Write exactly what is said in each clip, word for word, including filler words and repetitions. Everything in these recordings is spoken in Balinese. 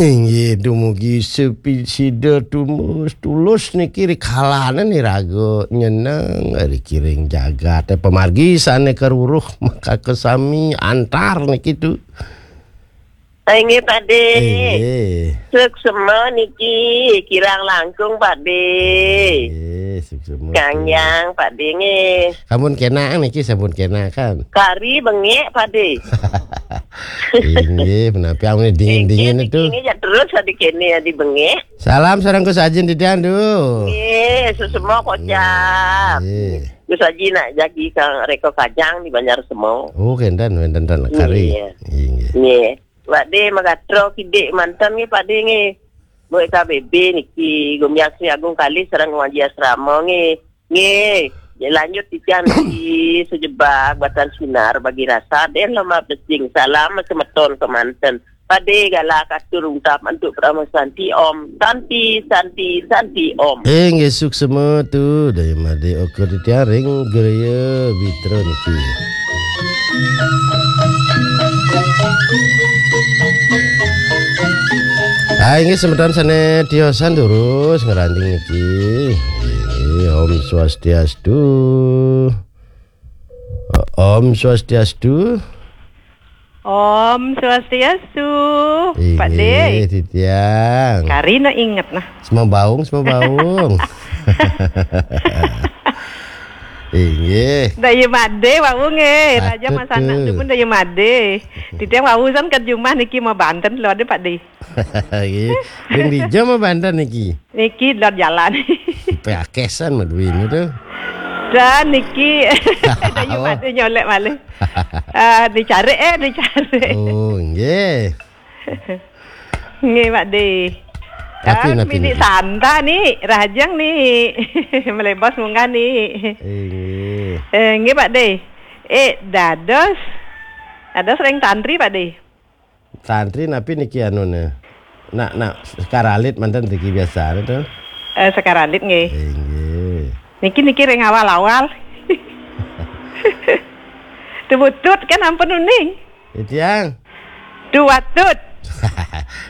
Inggih, dumugi sepi sida tumus tulus niki ri kalane niraga nyeneng ri kiring jagat. Eh, pamargi sane karuruh makaka sami antar niki tu. Inggih, Pak De. Inggih. Suksema niki kirang langkung, Pak De. Inggih, suksema. Kang Yang, Pak De nggih. Sampun kena niki, sampun kena kan. Kari bengek, Pak De. Inggih, menapi amun dingin-dingin itu. Inggih, ya terus adi kene adi bengek. Salam sareng Gus Ajin titiang, duh. Nggih, suksema kocap. Nggih. Gus Aji nak jagi Kang Reko Kajang di Banjar Semau. Oh, kenten, wenten ten kari. Iya. Inggih. Nggih. Pak De magatra kidik manten nggih, Pak De nggih. Buat K B B niki, Gumyang Sri Agung Kali sareng Ngaji Asrama nggih. Nggih. Ya, lanjut titiang niki sejebak batan sinar bagi rasa den lemah besing. Salam semeton kemanten. Pak De galak atur ungkap antuk Parama Santi Om. Santi, Santi, Santi Om. Eh, nggih suksema tu, daya made oka titiang ring Gereja Bitra niki. Ah, inggih semeton sane tiosan durus ngranjing niki. Inggih, Om Swastiastu. Om Swastiastu. Om Swastiastu, Pak De. Inggih, titiang. Kari na inget nah. Semua baung, semua baung. Inggih. Daya made, wau nggih. Raja patut masanak tu tu pun daya made. Titiang wau san ke jumah niki mau banten lo ada, Pak De. Nggih. Ring dija mau banten niki. Niki dot jalan. Pe akesan mah duit ni tu. Dan niki daya made nyolek malih. Ah, dicari, eh, dicari. Oh, nggih. Nggih, Pak De. Tapi, ah, tapi mini niki. Santa ni, Rahajeng ni. Melebos munggah ni. Eh, nggih. Eh, nggih, Pak De. Eh, dados. Dados ring tantri, Pak De. Tantri napi niki anune? Nak, nak sekar alit manten niki biasane to? Eh, sekar alit nggih. Inggih. Niki, niki ring awal-awal. Tuwutut kan ampun uning. Titiang. Tuwatut.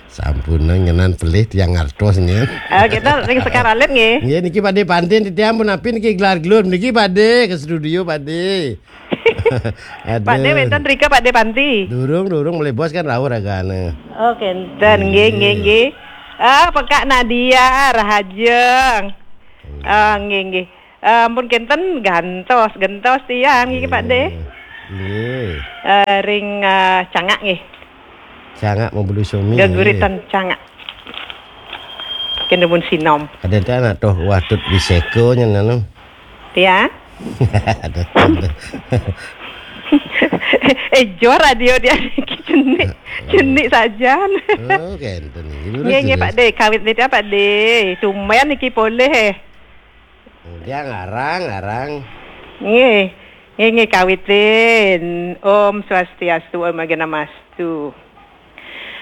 Sampun ngenan pelih tiang ngartos nggih. Eh, kita ring sekar alit nggih. Nggih niki Pak De panten titiang pun napi niki gelar gelur niki Pak De ke studio Pak De. Aduh. Pak De wenten rika Pak De panti. Durung, durung melih bos kan rauh ragane. Oh, kenten. Nggih, nggih, nggih. Ah, Pekak Nadia, Rahajeng. Nggih. Ah, nggih, nggih. Ah, ampun kenten gantos, gentos tiang nggih, Pak De. Nggih. Eh, ring, eh, Cangak nggih. Cangak membeli sumi. Geguritan Cangak. Kene pun sinom. Ada tak nak toh watut biseko nyen anu. Ya. Ada. Eh, jor radio dia niki cenik. Cenik sajan. Oh, kenten. Nggih, nggih, Pak De. Kawit niki, Pak De. Tumben niki polih, eh. Dia ngarang, ngarang. Nggih. Nggih, nggih, kawitin. Om Swastiastu, Om Agnamastu.